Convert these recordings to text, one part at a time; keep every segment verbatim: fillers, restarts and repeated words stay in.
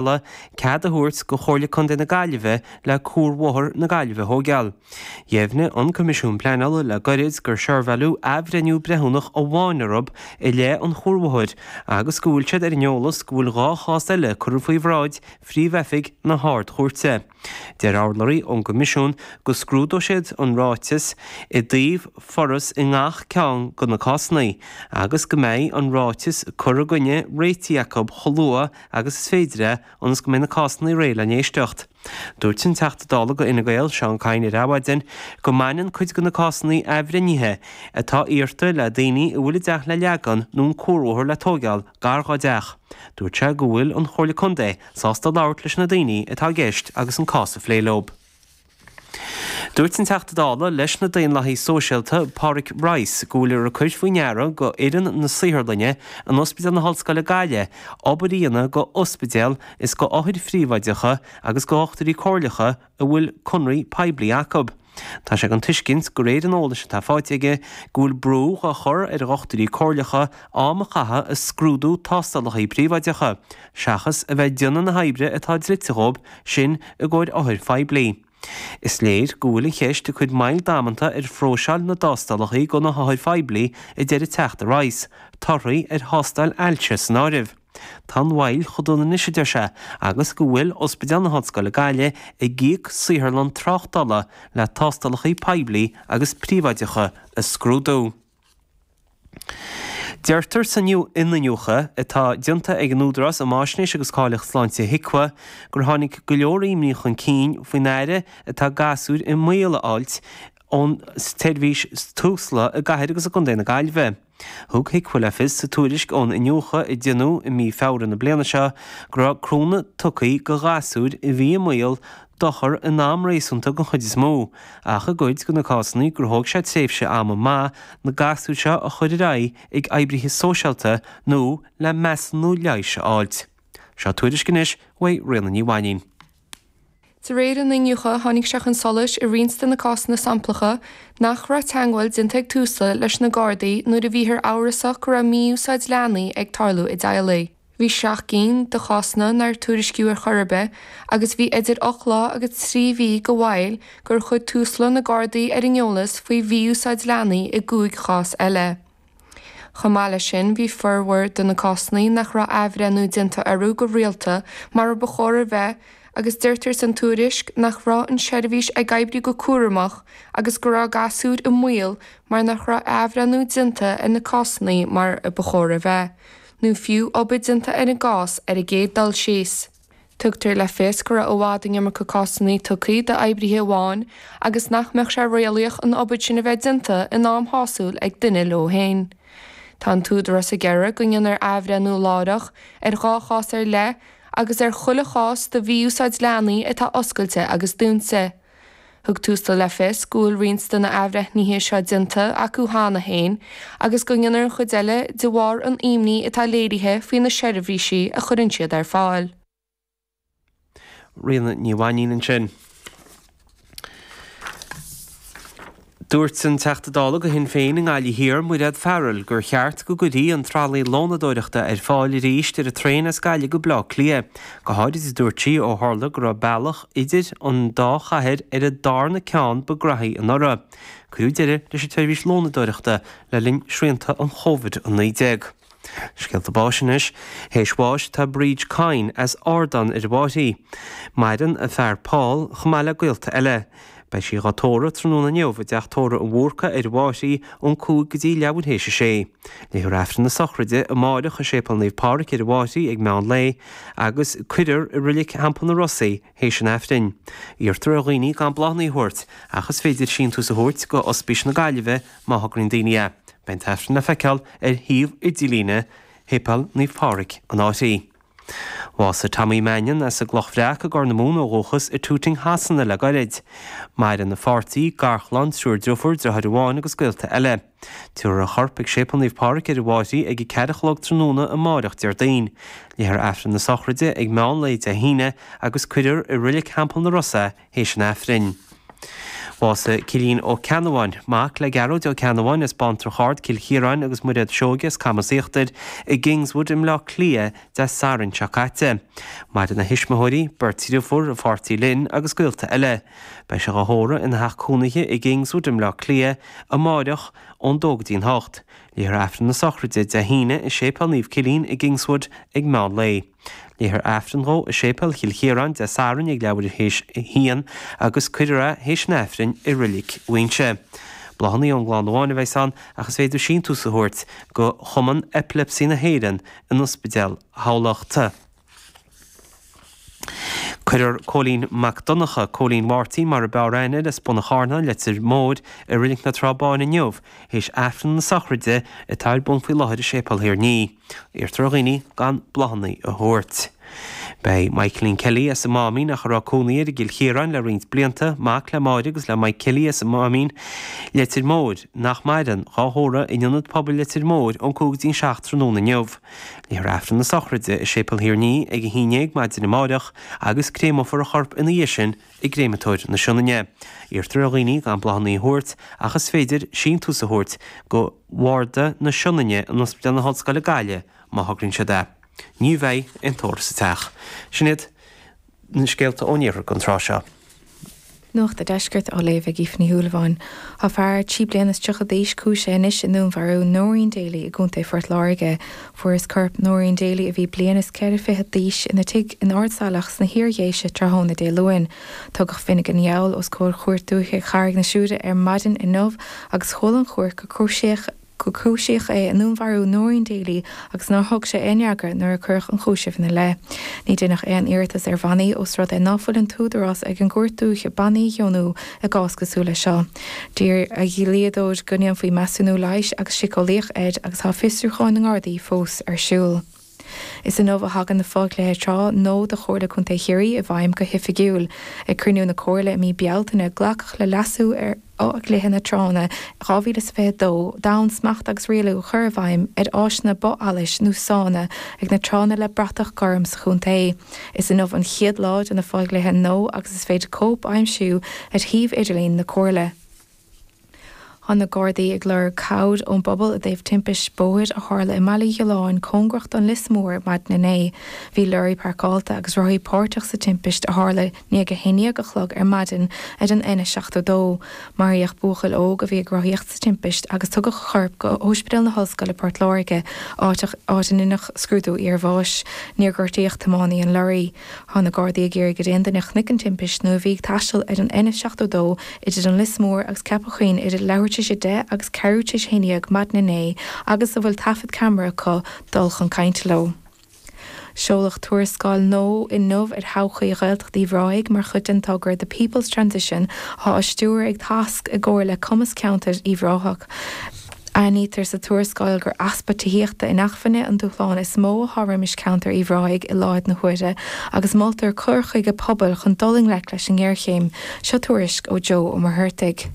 Cead a thabhairt go Chomhairle Contae na Gaillimhe le Cuarbhóthar na Gaillimhe a thóigeáil. Dheimhnigh an Coimisiún Pleanála le gairid gur seirbheáladh athbhreithniú breithiúnach amháin orthu i leith an chuarbhóthair agus go bhfuil siad ar an eolas go bhfuil dhá chás eile curtha faoi bhráid Phríomh-Oifig na hArd-Chúirte. Deir urlabhraí ón gCoimisiún go scrúdóidh siad an ráiteas i dtaobh foras i ngach ceann de na cásanna agus go mbeidh an ráiteas cur i gcoinne réitithe acu chomh luath agus is féidir é ionas go mbeidh na cásanna réidh le n-éisteacht. Dúirt an Teachta Dála go Fhine Gael, Seán Kyne ar Adhmhaidin go mbaineann cuid de na cásanna athbhreithnithe atá iarrta le daoine a bhfuil a dteach le leagan nó an cuarbhóthar le tóigeáil gar dhá dteach. Dúirt sé go bhfuil an Chomhairle Contae sásta labhairt leis na daoine atá i gceist agus an cás a phlé leo. Dúirt an Teachta Dála leis na Daonlathaithe Sóisialta, Pádraig Rice, go bhfuil ag cur faoi ndeara go fhoireann na saotharlainne in Ospidéal na hOllscoile Gaillimh obair a dhéanamh go ospidéil is go othair phríobháideacha agus go dhochtúirí comhairleacha a bhfuil conraí poiblí acu. Tá sé den tuiscint de réir an eolais atá faighte aige go bhfuil brú á chur ar dhochtúirí comhairleacha am a chaitheamh ag scrúdú tástálacha príobháideacha, seachas a bheith ag déanamh na hoibre atá dlite dhóibh sin i gcomhair othair phoiblí. Is léir go bhfuil an cheist ag cur moill damanta ar phróiseáil na dtástálacha go na hothair phoiblí, a deir an Teachta Rice, torthaí ar thástáil ailse san áireamh. Tá an mhoill chomh dona anois, a deir sé, agus go bhfuil Ospidéal na hOllscoile Gaillimh ag íoc saotharlann tráchtála le tástálacha poiblí agus príobháideacha a scrúdú. Deirtear san iniúchadh atá déanta ag an Údarás um Fháisnéis agus Cáilíocht Sláinte, HIQA, gur tháinig go leor imní chun cinn faoin aire atá gasúir i mbaol a fháilt ón tseirbhís Tusla i gcathair agus i gcontae na Gaillimhe. Thug HIQA le fios sa tuairisc ón iniúchadh a déanadh i mí Feabhra na bliana seo go raibh cúnamh tugtha go ghasúir a bhí i mbaol dochair in am réasúnta den chuid is mó, ach i gcuid de na cásanna gur thóg sé tréimhse ama maith na gasúir seo a chur ar aghaidh ag oibrithe sóisialta nó le measúnú leighis a fháilt. Seo tuairisc anois uaidh Ríona Ní Mhainín. De réir an iniúchta, tháinig sé chun solais i roinnt de na cásanna samplacha nach raibh teagmháil déanta ag Tusla leis na Gardaí nuair a bhíothar amhrasach go raibh mí-úsáid leanaí ag tarlú i dteaghlaigh. Bhí seacht gcinn de chásanna nár tuairiscíodh ar chor ar bith agus bhí idir ocht lá agus trí mhí de mhoill gur chuir Tusla na Gardaí ar an eolas faoi mhí-úsáid leanaí i gcúig chás eile. Chomh maith leis sin, bhí formhór de na cásanna nach raibh athbhreithniú déanta orthu go rialta mar a ba chóir a bheith agus deirtear san tuairisc nach raibh an tseirbhís ag oibriú go cúramach agus go raibh gasúir i mbaol mar nach raibh athbhreithniú déanta ar na cásanna mar a ba chóir a bheith, nó fiú obair déanta ar an gcás ar an gcéad dul síos. Tugtar le fios go raibh i bhfad an iomarca cásanna tugtha d'oibrithe amháin agus nach mbeadh sé réalaíoch an obair sin a bheith déanta in am shásúil ag duine leo féin. Tá an tÚdarás ag iarraidh go ndéanfar athbhreithniú láithreach ar dhá chás ar leith agus ar chuile chás de mhí-úsáid leanaí atá oscailte agus dúnta. Thug Tusla le fios go bhfuil roinnt de na athbhreithnithe seo déanta acu cheana féin agus go ndéanfar an chuid eile de bharr an imní atá léirithe faoi na seirbhísí a chuireann siad ar fáil. Ríona Ní Mhainín ansin. Dúirt an Teachta Dála do Shinn Féin i nGaillimh Thiar, Mairéad Farrell, gur cheart go gcuirfí an tralaí lónadóireachta ar fáil arís ar an traein as Gaillimh go Baile Átha Cliath. Go háirid, a dúirt sí, ó tharla go raibh bealach idir an dá chathair ar an darna ceann ba ghraithí anuraidh. Cuireadh deireadh leis an tseirbhís lónadóireachta le linn srianta an Chóvid a naoi déag. Scéalta báis anois. Théis bháis tá Bríd Kyne as Ardán ar an bhFairche. Maireann a fear Paul chomh maith le gaolta eile. Beidh sí dhá tórramh tráthnóna inniu i dTeach Tórraimh an Bhúrca ar an bhFairche ón cúig go dtí leathuair théis a sé. Léifear Aifreann na sochraide amáireach i Séipéal Naomh Pádraig ar an bhFairche ag meán lae agus cuirfear i Reilig Theampall na Ros í théis an Aifrinn. Iarrtar ar dhaoine gan bláthanna a thabhairt ach is féidir síntiús a thabhairt go Ospís na Gaillimhe má thograíonn daoine é. Beidh an tAifreann le feiceáil ar shuíomh idirlíne Shéipéal Naomh Pádraig, an Fhairche. Bhásaigh Tommy Mannion as an gCloch Bhreac i gCorr na Mumhan ó dhúchas i Tooting Shasana le gairid. Maireann a pháirtí, garchlann, triúr driofúr, driotháir amháin agus gaolta eile. Tabharfar a chorp ag Séipéal Naomh Pádraig ar an bhFairche ag a ceathair a chlog tráthnóna amáireach Déardaoin. Léifear Aifreann na sochraide ag meán lae Dé hAoine agus cuirfear i Reilig Theampall na Ros é théis an Aifrinn. Bhásaigh Cillian Ó Ceannabháin, mac le Gearóid Ó Ceannabháin as Baintreach Ard, Cill Chiaráin agus Muiréad Seoige as Camas Íochtair i gKingswood i mBleá Cliath Dé Sathairn seo caite. Maireann a thuismitheoirí, beirt deirfiúr, a pháirtí Lynn agus gaolta eile. Beidh sé á thórramh ina theach cónaithe i gKingswood i mBleá Cliath amáireach ón dó go dtí'n hocht. Léifear Aifreann na sochraide Dé hAoine i Séipéal Naomh Cillian i gKingswood ag meán lae. Léifear Aifreann dhó i Séipéal Chill Chiaráin Dé Sathairn ag leathuair théis a haon agus cuirfear é théis an Aifrinn i Reilig Mhuighinse. Bláthanna ón gclann amháin a bheas ann ach is féidir síntiús a thabhairt go Chumann Epilepsy na hÉireann in Ospidéal Thamhlachta. Cuirfear Cóilín Mac Donncha, Cóilín Mháirtín mar a b'fhearr aithne air as Bun an Charnáin, Leitir Móir, i Reilig na Trá Báine inniu, théis Aifreann na sochraide atá ar bun faoi láthair i Séipéal Thír an Fhia. Iarrtar ar dhaoine gan bláthanna a thabhairt. Beidh Michaeline Kelly as an Máimín ach a raibh cónaí air i gCill Chiaráin le roinnt blianta, mac le Máire agus le Mike Kelly as an Máimín, Leitir Móir, nach maireann, dhá thórramh in Ionad Pobail Leitir Móir ón cúig go dtí'n seacht tráthnóna inniu. Léifear Aifreann na sochraide i Séipéal Thír an Fhia ag a haon déag maidin amáireach agus créamófar a chorp ina dhiaidh sin i gCréamatóir na Sionainne. Iarrtar ar dhaoine gan bláthanna a thabhairt ach is féidir síntiús a thabhairt go Bharda na Sionainne in Ospidéal na hOllscoile Gaillimh má thograíonn siad é. Ní bheidh aon tórramh sa teach. Sin iad na scéalta ón iarthar don tráth seo. Nuacht an Deiscirt á léamh ag Aoife Ní Shúilleabháin. Tá fear trí bliana is tríocha d'aois cúisithe anois i ndúnmharú Noreen Daly i gContae Phort Láirge. Fuarthas corp Noreen Daly a bhí bliain is ceithre fichead d'aois ina tigh in Ard Saileach sna hIar-Dhéise tráthnóna Dé Luain. Tugadh Finnegan Yowell os comhair Chúirt Dúiche Charraig na Siúire ar maidin inniu agus chuala an chúirt gur cúisíodh gur cúisíodh é i ndúnmharú Noreen Daly agus nár thug sé aon fhreagra nuair a cuireadh an cúiseamh ina leith. Ní deineadh aon iarratas ar bhannaí ós rud é ná fuil an t-údarás ag an gcúirt dúiche bannaí a dheonú i gcás cosúil leis seo. D'iarr a dhlíodóir go ndéanfaí measúnú leighis agus síceolaíoch air agus tá fiosrúchán na nGardaí fós ar siúl. Is inniu a thagann na fodhlíthe trá nua do Chomhairle Contae Chiarraí i bhfeidhm go hoifigiúil. Ag cruinniú na Comhairle i mí Bealtaine glacadh le leasú ar Fhodhlíthe na Tránna dhá mhíle is fiche dó d'fhonn smacht agus rialú a chur i bhfeidhm ar áiseanna bog-allais nó sána ag na tránna le bratach gorm sa chontae. Is inniu an chéad lá de na fodhlíthe nua agus is féidir cóip a aimsiú ar shuíomh idirlín na Comhairle. Tá na Gardaí ag lorg cabhair ón bpobal i dtaobh timpist bóthair a tharla i mBaile Ghiolláin cóngarach don Lios Mór maidin inné. Bhí leoraí páirceáilte agus rothaí páirteach sa timpist a tharla i ndiaidh a haon déag a chlog ar maidin ar an N seachtó dó. Maraíodh buachaill óg a bhí ag rothaíocht sa timpist agus tugadh a chorp go hOspidéal na hOllscoile Port Láirge, áit a ndeineadh scrúdú iarbháis. Níor gortaíodh tiománaí an leoraí. Tá na Gardaí ag iarraidh ar aon duine a chonaic an timpist nó a bhí ag taisteal ar an N seachtó dó idir an Lios Mór agus Ceapach Chuinn idir leathuair tar éis a deich agus ceathrú tar éis a haon déag maidin inné agus a bhfuil taifead ceamara acu dul chun cainte leo. Seoladh tuarascáil nua inniu ar thodhchaí Ghaeltacht Uíbh Ráthaigh mar chuid den togra The People's Transition atá á stiúradh ag Tasc i gcomhar le Cumas Ceantair Uíbh Ráthach. Aithnítear sa tuarascáil gur easpa tithíochta inacmhainne an dúshlán is mó atá roimis ceantar Uíbh Ráthaigh i láthair na huaire agus moltar cur chuige pobail chun dul i ngleic leis an ngéarchéim. Seo tuairisc ó Joe Ó Muircheartaigh.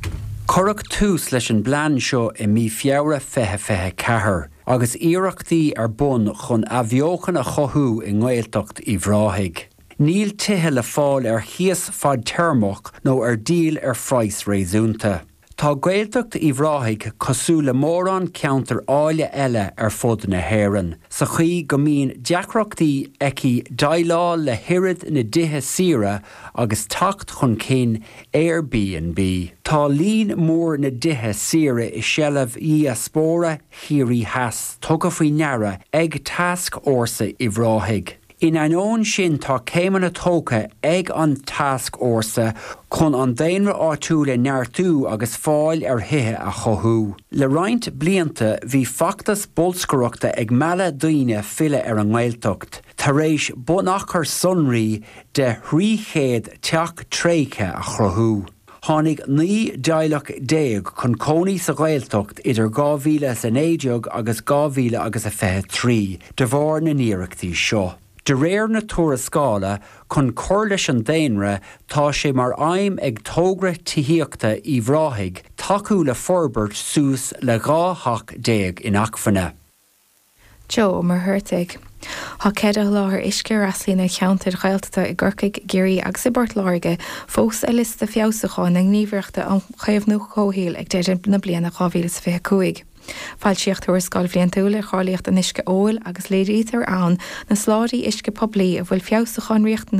Cuireadh tús leis an bplean seo i mí Feabhra fiche fiche ceathair, agus iarrachtaí ar bun chun athbheochan a chothú i nGaeltacht Uíbh Ráthaigh. Níl tithe le fáil ar chíos fadtéarmach nó ar díol ar phraghas réasúnta. Tá Gaeltacht Uíbh Ráthaigh cosúil le mórán ceantar áille eile ar fud na hÉireann, sa chaoi go mbíonn deacrachtaí aici déileáil le hoiread na dtithe saoire agus teacht chun cinn Airbnb. Tá líon mór na dtithe saoire i seilbh dhiaspóra Chiarraí Theas tugtha faoi ndeara ag Tascfhórsa Uíbh Ráthaigh. In ainneoin sin tá céimeanna tógtha ag an Tascfhórsa chun an daonra áitiúil a neartú agus fáil ar thithe a chothú. Le roinnt blianta bhí feachtas bolscaireachta ag mealladh daoine filleadh ar an nGaeltacht, tar éis bunachar sonraí de thrí chéad teach tréigthe a chruthú. Tháinig naoi dteaghlach déag chun cónaí sa Ghaeltacht idir dhá mhíle is a naoi déag agus dhá mhíle agus a fiche trí de bharr na n-iarrachtaí seo. De réir na tuarascála, chun cur leis an daonra, tá sé mar aidhm ag togra tithíochta Uíbh Ráthaigh tacú le forbairt suas le dhá theach déag inacmhainne. Joe Ó Muircheartaigh. Tá ceithre sholáthar uisce a fhreastalaíonn ar cheantair Ghaeltachta i gCorcaigh, i gCiarraí agus i bPort Láirge fós ar liosta feabhsúcháin na Gníomhaireachta um Chaomhnú Comhshaoil ag deireadh na bliana dhá mhíle is fiche a cúig. Foilsíodh tuarascáil bhliantúil ar cháilíocht an uisce óil agus léirítear ann na soláthraithe uisce poiblí a bhfuil feabhsúcháin riachtanach